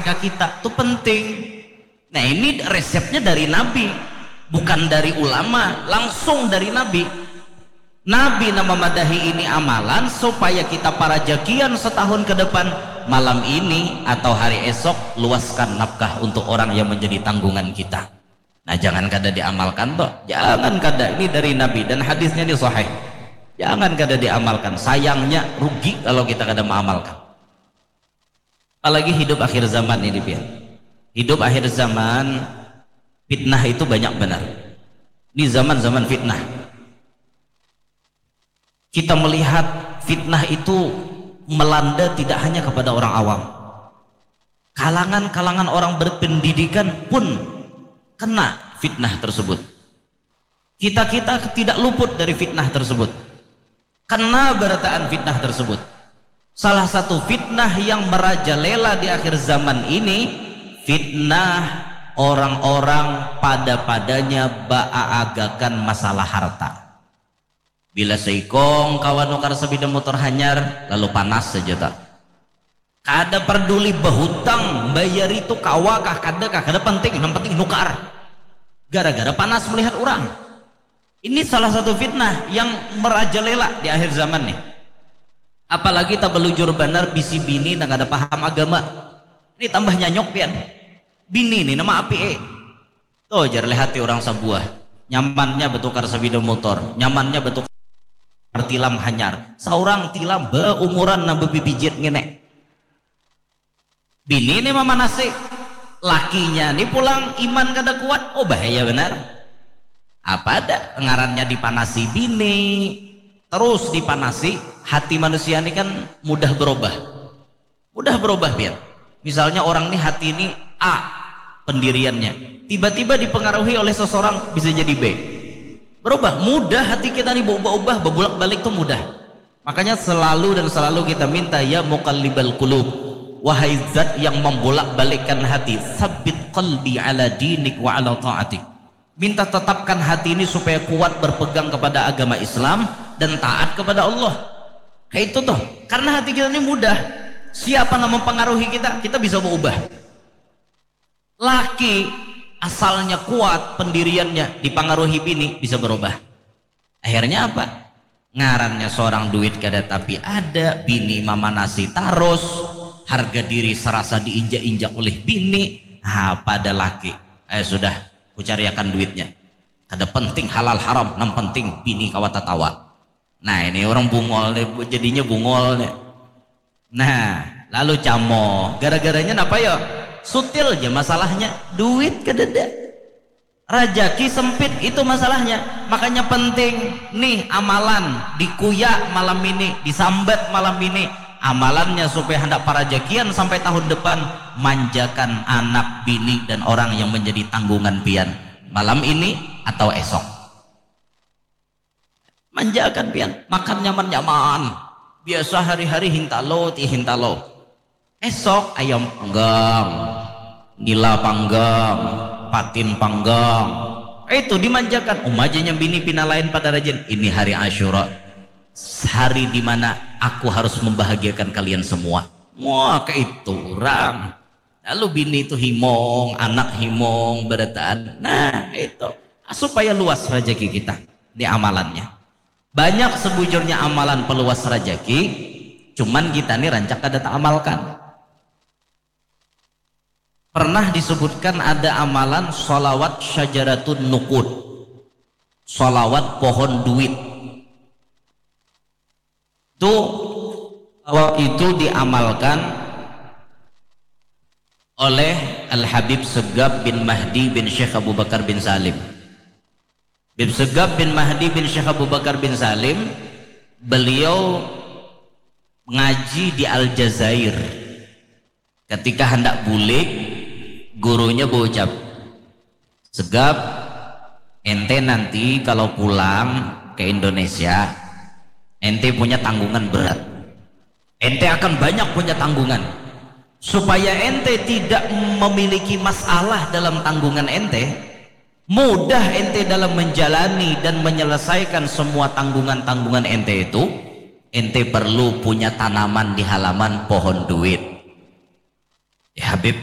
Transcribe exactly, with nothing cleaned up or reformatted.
ke kita. Itu penting. Nah, ini resepnya dari Nabi, bukan dari ulama, langsung dari Nabi. Nabi nama madahi ini amalan supaya kita parajakian setahun ke depan, malam ini atau hari esok, luaskan nafkah untuk orang yang menjadi tanggungan kita. Nah, jangan kada diamalkan toh, jangan kada. Ini dari Nabi dan hadisnya ini sahih. Jangan kada diamalkan. Sayangnya rugi kalau kita kada mengamalkan. Apalagi hidup akhir zaman ini, pian. Hidup akhir zaman, fitnah itu banyak benar. Ini zaman-zaman fitnah. Kita melihat fitnah itu melanda tidak hanya kepada orang awam. Kalangan-kalangan orang berpendidikan pun kena fitnah tersebut. Kita-kita tidak luput dari fitnah tersebut. Kena berataan fitnah tersebut. Salah satu fitnah yang merajalela di akhir zaman ini, fitnah orang-orang pada-padanya baaagakan masalah harta. Bila seikong kawan nukar sepeda motor hanyar, lalu panas saja tak. Kada peduli bahutang, bayar itu kawa kah, kada kah, kada penting, yang penting nukar. Gara-gara panas melihat orang. Ini salah satu fitnah yang merajalela di akhir zaman nih. Apalagi tak belujur benar bisi bini nang kada paham agama. Ini tambah nyanyok pian. Bini nih nama api eh. Tuh jar lihati orang sebuah. Nyamannya bertukar sepeda motor, nyamannya bertukar tilam hanyar. Seorang tilam beumuran nang bebibijit ngene. Bini nih memanasi, lakinya nih pulang iman kada kuat, oh bahaya benar. Apa ada ngarannya dipanasi bini, terus dipanasi, hati manusia ini kan mudah berubah. Mudah berubah pian. Misalnya orang nih hati ini A pendiriannya, tiba-tiba dipengaruhi oleh seseorang bisa jadi B. Berubah, mudah hati kita nih berubah-ubah, berbulak-balik tuh mudah. Makanya selalu dan selalu kita minta, ya muqallibal qulub, wahai zat yang membolak-balikkan hati, sabbit qalbi ala dinik wa ala taatik. Minta tetapkan hati ini supaya kuat berpegang kepada agama Islam dan taat kepada Allah. Kayak itu tuh. Karena hati kita ini mudah. Siapa yang mempengaruhi kita, kita bisa berubah. Laki asalnya kuat pendiriannya, dipengaruhi bini bisa berubah. Akhirnya apa? Ngarannya seorang duit kada tapi ada, bini mamanasi tarus, harga diri serasa diinjak-injak oleh bini. Ha, pada laki, eh sudah, kucariakan duitnya. Kada penting halal haram, nang penting bini kawa tatawa. Nah, ini orang bungol nih, jadinya bungol nih. Nah, lalu camo. Gara-garanya napa ya? Sutil aja masalahnya. Duit kadada. Rajaki sempit itu masalahnya. Makanya penting nih amalan dikuya malam ini, disambat malam ini. Amalannya supaya hendak parajakian sampai tahun depan, manjakan anak, bini, dan orang yang menjadi tanggungan pian malam ini atau esok. Manjakan pian, makan nyaman-nyaman. Biasa hari-hari hintalo, ti hintalo. Esok ayam panggang, nila panggang, patin panggang. Itu dimanjakan. Uma aja nyambini pina lain pada rajin. Ini hari Asyura. Hari di mana aku harus membahagiakan kalian semua. Wah, kayak itu orang. Lalu bini itu himong, anak himong, berataan. Nah, itu. Supaya luas rezeki kita di amalannya. Banyak sebujurnya amalan peluas rezeki, cuman kita nih rancak kada taamalkan. Pernah disebutkan ada amalan salawat syajaratun nukud, salawat pohon duit. Itu, salawat itu diamalkan oleh Al Habib Segaf bin Mahdi bin Syekh Abu Bakar bin Salim. Habib Segaf bin Mahdi bin Syekh Abu Bakar bin Salim, beliau ngaji di Aljazair. Ketika hendak bulik, gurunya berucap, "Segaf, ente nanti kalau pulang ke Indonesia, ente punya tanggungan berat. Ente akan banyak punya tanggungan. Supaya ente tidak memiliki masalah dalam tanggungan ente, mudah ente dalam menjalani dan menyelesaikan semua tanggungan-tanggungan ente itu, ente perlu punya tanaman di halaman pohon duit." Eh, Habib,